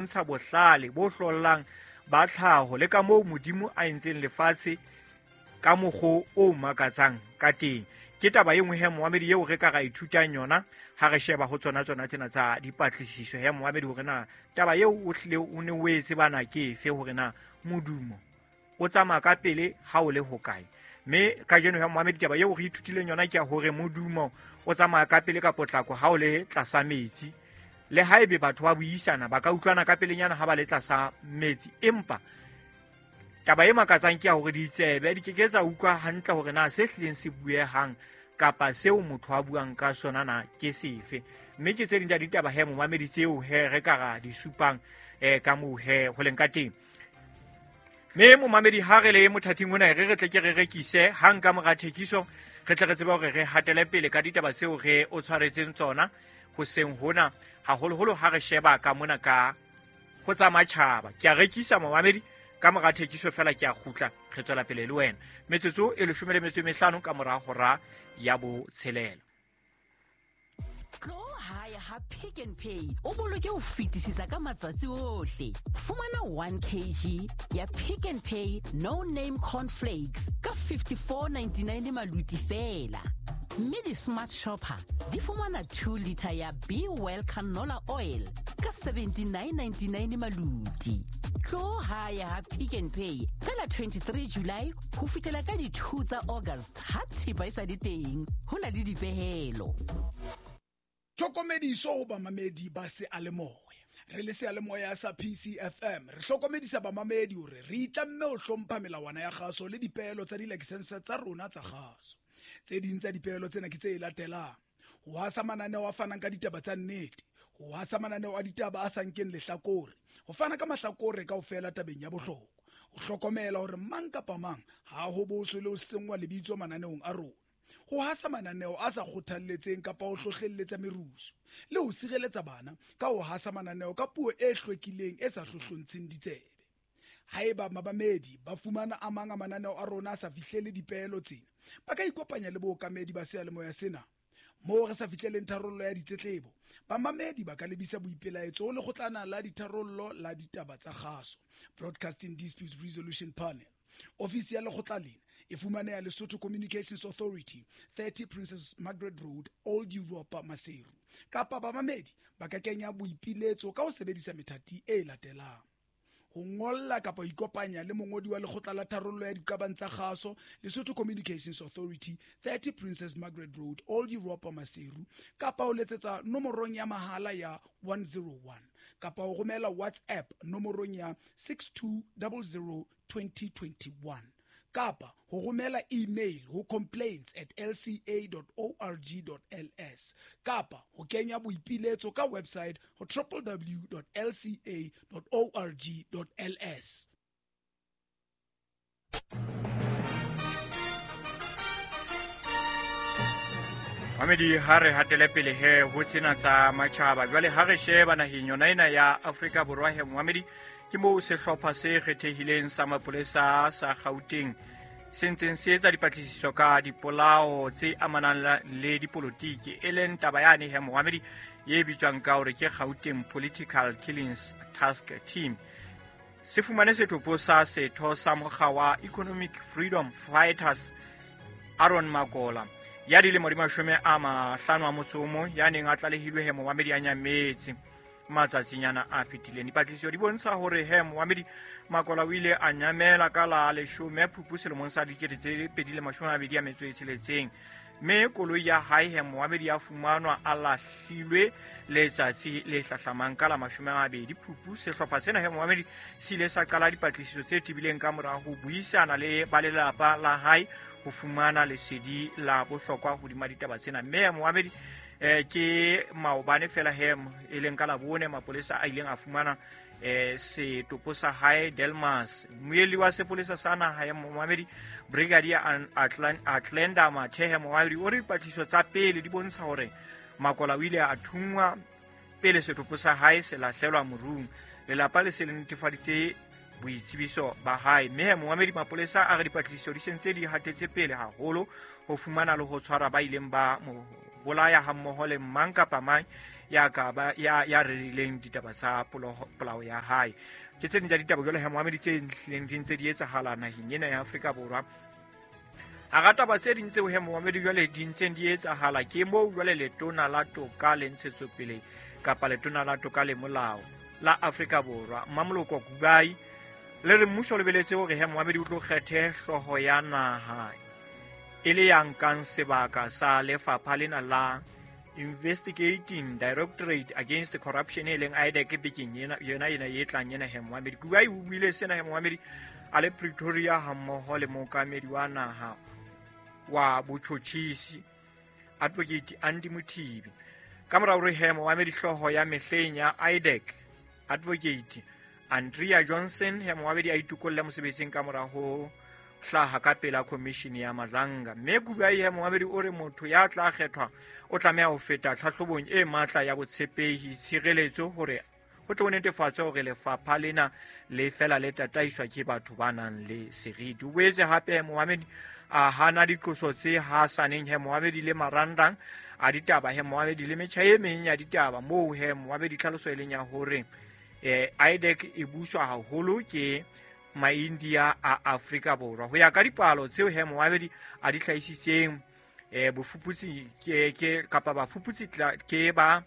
Ntsha bohlale bo hlollang ba tlhaho le ka moo Modimo a entseng lefatshe ka mokgo o makatsang ka teng. Ke taba e nngwe he moamedi eo re ka ra ithutang yona ha re sheba ho tsona tsona tsena tsa dipatlisiso he moamedi, hore na taba eo o hlile o ne o e tsebana ke efe, hore na modumo o tsamaya ka pele ha o le hokae. Mme kajeno ya moamedi taba eo re ithutileng yona ke ya hore modumo o tsamaya ka pele ka potlako ha o le tlasa metsi. Le haebe batho ba buisana ba ka utlwana ka pelenyana ha ba le tlasa metsi, empa taba e makatsang ke ya hore ditsebe di ke ke tsa utlwa hantle hore na se hlileng se buehang kapa seo motho a buang ka sona na ke sefe. Mme ke tse ding tsa ditaba he momamedi tseo he re ka ra di supang ka moo he ho leng ka teng. Mme momamedi ha re le mothating ona re re tle ke re rekise hang ka mora thekiso, re tle re tsebe hore re hatele pele ka ditaba tseo re o tshwaretseng tsona hoseng hona, haholoholo ha re sheba ka mona ka ho tsa matjhaba. Ke a rekisa momamedi, ka mora thekiso fela ke a kgutla, re tswela pele le wena. Metsotso e 15 ka mora hora ya 6. Tlo hae ha Pick n Pay o boloke ho fetisisa ka matsatsi ohle. Fumana 1 kg ya Pick n Pay No Name Cornflakes ka 54.99 maluti fela. Mme di-smart shopper di fumana 2 liter ya Be Well canola oil ka 79.99 maluti. Tlo hae ha Pick n Pay ka la 23 July ho fihlela ka di 2 tsa August ha thepa e sa le teng, ho na le dipehelo. Tlhokomediso ho bamamedi ba seyalemoya. Re le seyalemoya sa PCFM re hlokomedisa bamamedi hore re itlamme ho hlompha melawana ya kgaso le dipeelo tsa dilakesense tsa rona tsa kgaso. Tse ding tsa dipeelo tsena ke tse latelang: ho hasa mananeo a fanang ka ditaba tsa nnete, ho hasa mananeo a ditaba a sa nkeng lehlakore, ho fana ka mahlakore kaofela tabeng ya bohlokwa, ho hlokomela hore mang kapa mang ha ho boswe le ho senngwa lebitso mananeong a rona, ho hasa mananeo a sa kgothalletseng kapa ho hlohlelletsa merusu, le ho sireletsa bana ka ho hasa mananeo ka puo e hlwekileng e sa hlohlontsheng ditsebe. Haeba babamedi ba fumana a mang a mananeo a rona a sa fihlele dipeelo tsena, ba ka ikopanya le bookamedi ba seyalemoya sena. Moo re sa fihleleng tharollo ya ditletlebo, bamamedi ba ka lebisa boipelaetso ho lekgotlana la ditharollo la ditaba tsa kgaso, Broadcasting Disputes Resolution Panel. Ofisi ya lekgotla lena e fumaneha Lesotho Communications Authority, 30 Princess Margaret Road, Old Europa, Maseru. Kapa bamamedi ba ka kenya boipiletso ka ho sebedisa methati e latelang: ho ngolla kapa ho ikopanya le mongodi wa lekgotla la tharollo ya diqabang tsa kgaso, Lesotho Communications Authority, 30 Princess Margaret Road, Old Europa, Maseru, kapa ho letsetsa nomorong ya mahala ya 101, kapa ho romela WhatsApp nomorong ya 6200 2021, kapa ho romela email ho complaints@lca.org.ls, kapa ho kenya boipiletso ka website ho www.lca.org.ls. Mamedi, ha re hatele pele he ho tsena tsa matjhaba. Jwale ha re sheba naheng yona ena ya Afrika Borwa he momamedi, ke moo sehlopha se kgethehileng sa mapolesa sa Gauteng se ntseng se etsa dipatlisiso ka dipolao tse amanang le dipolotiki, e leng taba yane he momamedi e bitswang ka hore ke Gauteng Political Killings Task Team. Se fumane setopo sa setho sa mokga wa Economic Freedom Fighters Aaron Makola ya dilemo di 51 ya neng a tlalehilwe he momamedi a nyametse matsatsinyana a fetileng. Dipatlisiso di bontsha hore he momamedi Makola o ile a nyamela ka la 10 Phupu selemong sa 2026, mme koloi ya hae he momamedi ya fumanwa a lahlilwe letsatsi le hlahlamang ka la 20 Phupu. Sehlopha sena he momamedi se ile sa qala dipatlisiso tse tebileng ka mora ho buisana le ba lelapa la hae ho fumana lesedi la bohlokwa hodima ditaba tsena. Mme momamedi ke maobane fela he e leng ka Labone mapolesa a ileng a fumana setopo sa hae Delmas. Moeli wa sepolesa sa naha ya momamedi Brigadier Atlenda Mathehe momamedi o re dipatlisiso tsa pele di bontsha hore Makola o ile a thunngwa pele setopo sa hae se lahlelwa morung. Lelapa le se le netefaditse boitsebiso ba hae. Mme momamedi mapolesa a re dipatlisiso di sentse di hatetse pele haholo ho fumana le ho tshwara ba ileng ba mo bolaya hammoho le mang kapa mang ya ka ba ya rerileng ditaba tsa polao ya hae. Ke tse ding tsa ditaba jwale he momamedi tse hlileng di ntse di etsahala naheng ena ya Afrika Borwa. Hara taba tse ding tseo he momamedi jwale di ntseng di etsahala ke moo jwale letona la toka le ntshetsopele kapa letona la toka le molao la Afrika Borwa Mmamoloko Kubayi le re mmuso o lebeletse hore he momamedi o tlo kgethe hlooho ya naha e le ya nkang sebaka sa lefapha lena la Investigating Directorate Against Corruption e leng IDAC bekeng yona ena e tlang ena he momamedi. Kubayi o buile sena he momamedi a le Pretoria hammoho le mookamedi wa naha wa botjhotjhisi Advocate Andy Mothibi. Ka mora hore he momamedi hlooho ya mehleng ya IDAC Advocate Andrea Johnson he momamedi a itokolle mosebetsing ka mora ho hlaha ka pela commission ya Madlanga. Mme Kubayi he momamedi o re motho ya tla kgethwa o tlameha ho feta tlhahlobong e matla ya botshepehi tshireletso hore ho tle ho netefatswe hore lefapha lena le fela le tataiswa ke batho ba nang le seriti. O boetse hape momamedi a hana diqoso tse hasaneng he momamedi le marangrang a ditaba he momamedi le metjha e meng ya ditaba moo he momamedi tlhaloso e leng ya hore IDAC e buswa haholo ke Maindia a Afrika Borwa. Ho ya ka dipalo tseo he momamedi a di hlahisitseng bofuputsi ke kapa bafuputsi ke ba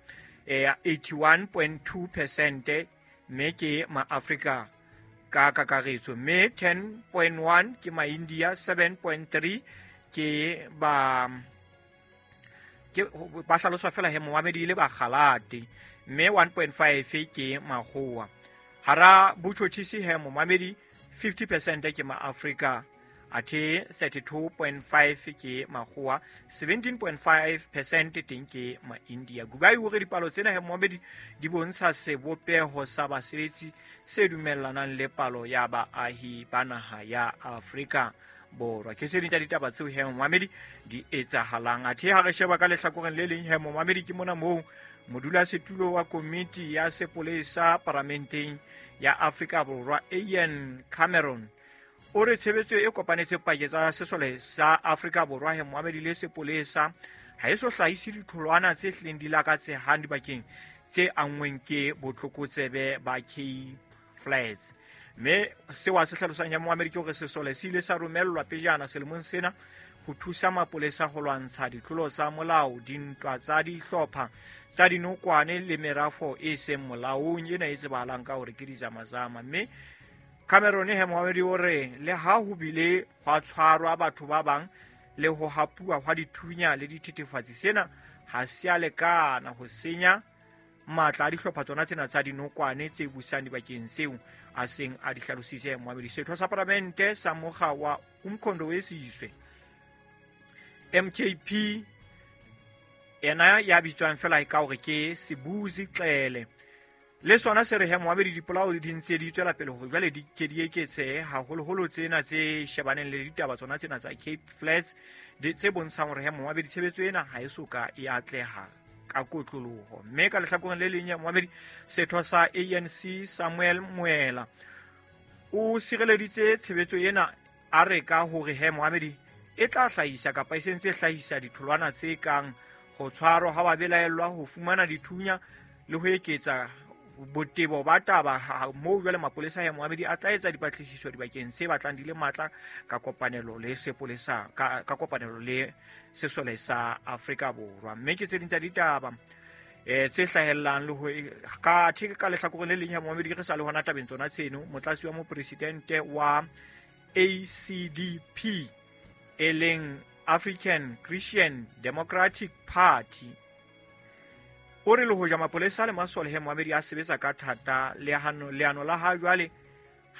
81.2% mme ke maAfrika ka kakaretso, mme 10.1 ke Maindia, 7.3 ke ba ba hlaloswa fela he momamedi le bakgalate, mme 1.5 ke makgowa. Hara botjhotjhisi he momamedi 50% ke maAfrika, athe 32.5 ke makgowa, 17.5% teng ke Maindia. Kubayi o re dipalo tsena he momamedi di bontsha sebopeho sa basebetsi se dumellanang le palo ya baahi ba naha ya Afrika Borwa. Ke tse ding tsa ditaba tseo he momamedi di etsahalang. Athe ha re sheba ka lehlakoreng le leng he momamedi ke mona moo modulasetulo wa komiti ya sepolesa paramenteng ya Afrika Borwa Ian Cameron o re tshebetso e kopanetse pakeng tsa sesole sa Afrika Borwa he momamedi le sepolesa ha e so hlahise ditholwana tse hlileng di lakatsehang dibakeng tse anngweng ke botlokotsebe ba Cape Flats. Mme seo a se hlalosang ya momamedi ke hore sesole se ile sa romellwa pejana selemong sena ho thusa mapolesa ho lwantsha ditlolo tsa molao, dintwa tsa dihlopha tsa dinokwane le merafo e seng molaong ena e tsebahalang ka hore ke dizamazama. Mme Cameron he momamedi o re le ha ho bile hwa tshwarwa batho ba bang le ho hapuwa hwa dithunya le dithethefatsi, sena ha se a lekana ho senya matla a dihlopha tsona tsena tsa dinokwane tse busang dibakeng tseo a seng a di hlalositse momamedi. Setho sa palamente sa mokga wa Umkhonto we Sizwe MKP ena ya bitswang fela ka hore ke Sebuzi Xele le sona se re he momamedi dipolao di ntse di tswela pele hore jwale di ke di eketsehe haholoholo tsena tse shebaneng le ditaba tsona tsena tsa Cape Flats tse bontshang hore he momamedi tshebetso ena ha e soka e atleha ka kotloloho. Mme ka lehlakoreng le leng ya momamedi setho sa ANC Samuel Moela o sireleditse tshebetso ena a re ka hore he momamedi e tla hlahisa kapa e sentse hlahisa ditholwana tse kang ho tshwarwa ha ba belaellwa, ho fumana dithunya le ho eketsa botebo ba taba moo jwale mapolesa ya momamedi a tla etsa dipatlisiso dibakeng tse batlang di le matla ka kopanelo le sepolesa ka kopanelo le sesole sa Afrika Borwa. Mme ke tse ding tsa ditaba tse hlahellang le ho ka theke ka lehlakoreng le leng ya momamedi re sa le hona tabeng tsona tseno, motlatsi wa mopresidente wa ACDP e leng African Christian Democratic Party o re le hoja mapolesa le masole he momamedi a sebetsa ka thata, leano la ha jwale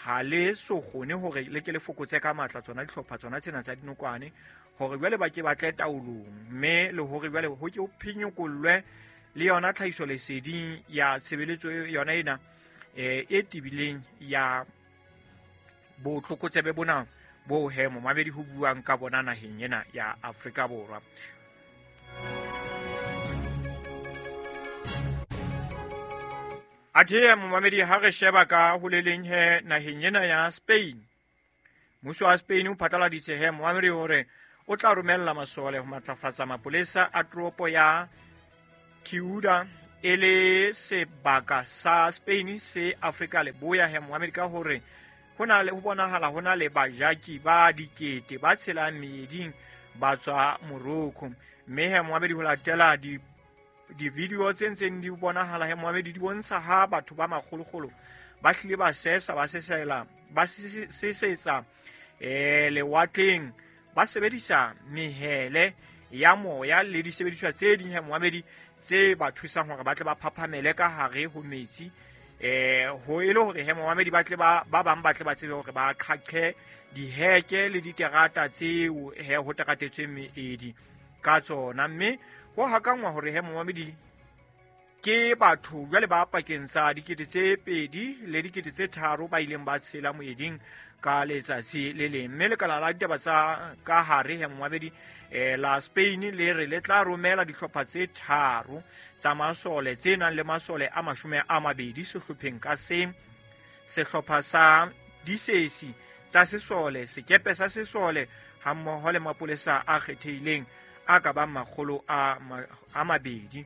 ha le so kgone hore le ke le fokotse ka matla tsona dihlopha tsona tsena tsa dinokwane hore jwale ba ke ba tle taolong, mme le hore jwale ho ke ho phenyokollwe le yona tlhahiso leseding ya tshebeletso yona ena e tebileng ya botlokotsebe bona bo he momamedi ho buang ka bona naheng ena ya Afrika Borwa. Athe momamedi ha re sheba ka ho le leng he naheng ena ya Spain, mmuso wa Spain o phatlaladitse he momamedi hore o tla romella masole ho matlafatsa mapolesa a toropo ya Ciudad e le sebaka sa Spain se Afrika Leboya he moamedi ka hore ho na le ho bonahala ho na le bajaki ba dikete ba tshelang meeding ba tswa Morocco. Mme he moamedi ho latela di-video tse ntseng di bonahala he moamedi di bontsha ha batho ba makgolokgolo ba hlile ba sesa ba sesela ba sesetsa lewatleng ba sebedisa mehele ya moya le disebediswa tse ding he moamedi tse ba thusang hore ba tle ba phaphamele ka hare ho metsi ho e le hore he moamedi ba tle ba bang ba tle ba tsebe hore ba qhaqhe diheke le diterata tseo he ho teratetsweng meedi ka tsona. Mme ho hakangwa hore he moamedi ke batho jwale ba pakeng tsa 2,000 le 3,000 ba ileng ba tshela moeding ka letsatsi le leng. Mme lekala la ditaba tsa ka hare he moamedi la Spain le re le tla romela dihlopha tse 3 tsa masole tse nang le masole a 20 sehlopheng ka seng, sehlopha sa disesi tsa sesole, sekepe sa sesole hammoho le mapolesa a kgethehileng a ka bang 200.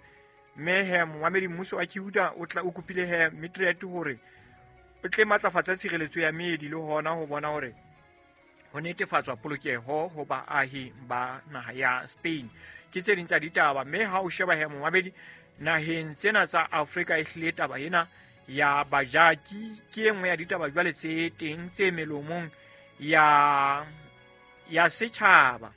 Mme he moamedi mmuso wa Cuba o tla o kopile he Madrid hore o tle matlafatsa tshireletso ya meedi le hona ho bona hore ho netefatswa polokeho ho baahi ba naha ya Spain. Ke tse ding tsa ditaba. Mme ha o sheba he moamedi naheng tsena tsa Afrika e hlile taba ena ya bajaki ke e nngwe ya ditaba jwale tse teng tse melomong ya setjhaba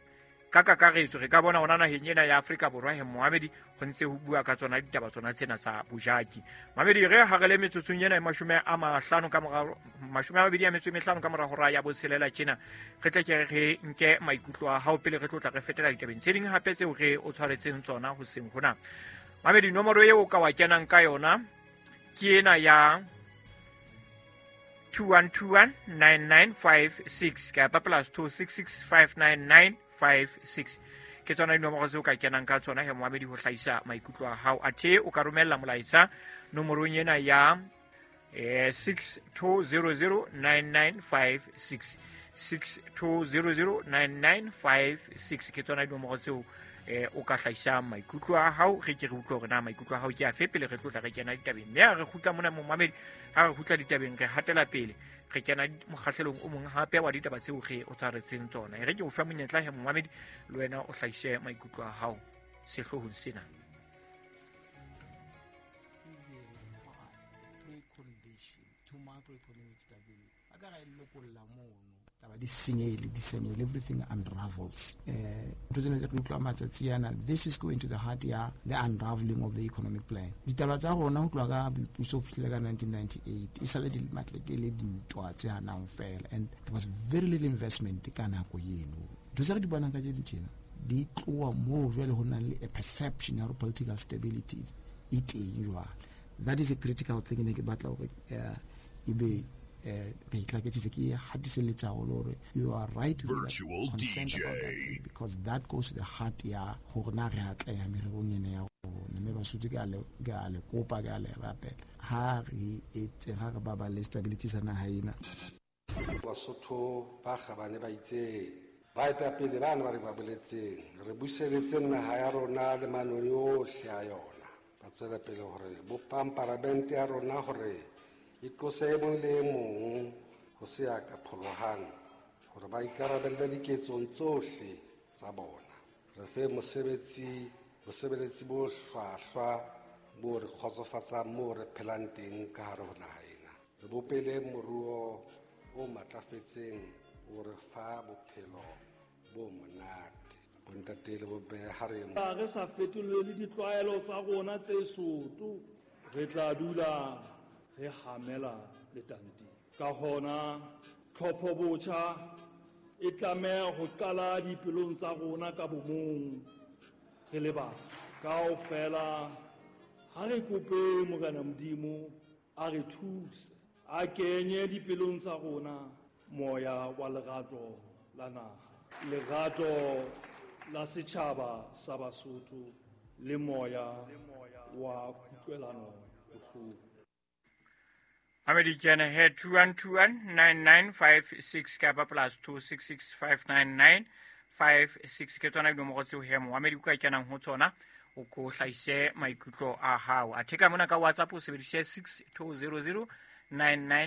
ka kakaretso. Re ka bona hona naheng ena ya Afrika Borwa he moamedi ho ntse ho bua ka tsona ditaba tsona tsena tsa bojaki. Mamedi re ha re le metsotsong ena e 25 ka mora 25 ka mora hora ya botshelela tjena re tle ke re nke maikutlo a hao pele re tlotla re fetela ditabeng tse ding hape tseo re o tshwaretseng tsona hoseng hona. Mamedi nomoro eo ka wa kenang ka yona ke ena ya 21219956 kapa plus 26659956. Ke tsona dinomoro tseo ka kenang ka tsona he moamedi ho hlahisa maikutlo a hao. Athe o ka romella molaetsa nomorong ena ya 62009956 62009956. Ke tsona dinomoro tseo o ka hlahisa maikutlo a hao. Re ke re utlwe hore na maikutlo a hao ke afe pele re tlotla re kena ditabeng. Mme ha re kgutla mona moamedi, ha re kgutla ditabeng re hatela pele re kena mokgahlelong o mong hape wa ditaba tseo re o tshwaretseng tsona. E re ke o fa monyetla he moamedi le wena o hlahise maikutlo a hao sehloohong sena. Di senyehile, everything unravels. This is going to the heart ya the unraveling of the economic plan. Ditaba tsa rona ho tloha ka boipuso ho fihlela ka 1998 e sale di matleke le dintwa tse hanang fela, and there was very little investment ka nako eno. Ntho tse re di bonang ka tjena di tloha moo jwale ho nang le a perception ya political stability e teng jwale. That is a critical thing ne ke batla hore ebe you are right to be concerned about that thing, because that goes to the heart ya hore na re atleha mererong ena ya rona. Mme Basotho ke a le kopa, ke a le rapela, ha re etse ha re baballe stability sa naha ena. Basotho ba kgabane ba itse baetapele bana ba re ba boletseng re buseletse naha ya rona le manoni ohle a yona. Ba tswela pele hore bopang paramente ya rona hore e tlose e mong le e mong ho se ya ka pholohang hore ba ikarabelle diketsong tsohle tsa bona. Re fe bosebeletsi bo hlwahlwa bo re kgotsofatsang moo re phelang teng ka hare ho naha ena. Re bopele moruo o matlafetseng o re fa bophelo bo monate. Bontate le bomme ha re re sa fetolele ditlwaelo tsa rona tse soto, re tla dula re hamela letanteng. Ka hona tlhopho botjha e tlameha ho qala dipelong tsa rona ka bomong re le batho kaofela. Ha re kope Morena Modimo a re thuse, a kenye dipelong tsa rona moya wa lerato la naha, lerato la setjhaba sa Basotho le moya wa kutlwelano bohloko. Amedi kena he 21219956 kapa plus 26659956 ke tsona dinomoro tseo he moamedi o ka kenang ho tsona O ko hlahise maikutlo a hao. Athe ka mona ka WhatsApp o sebedise 6200 99.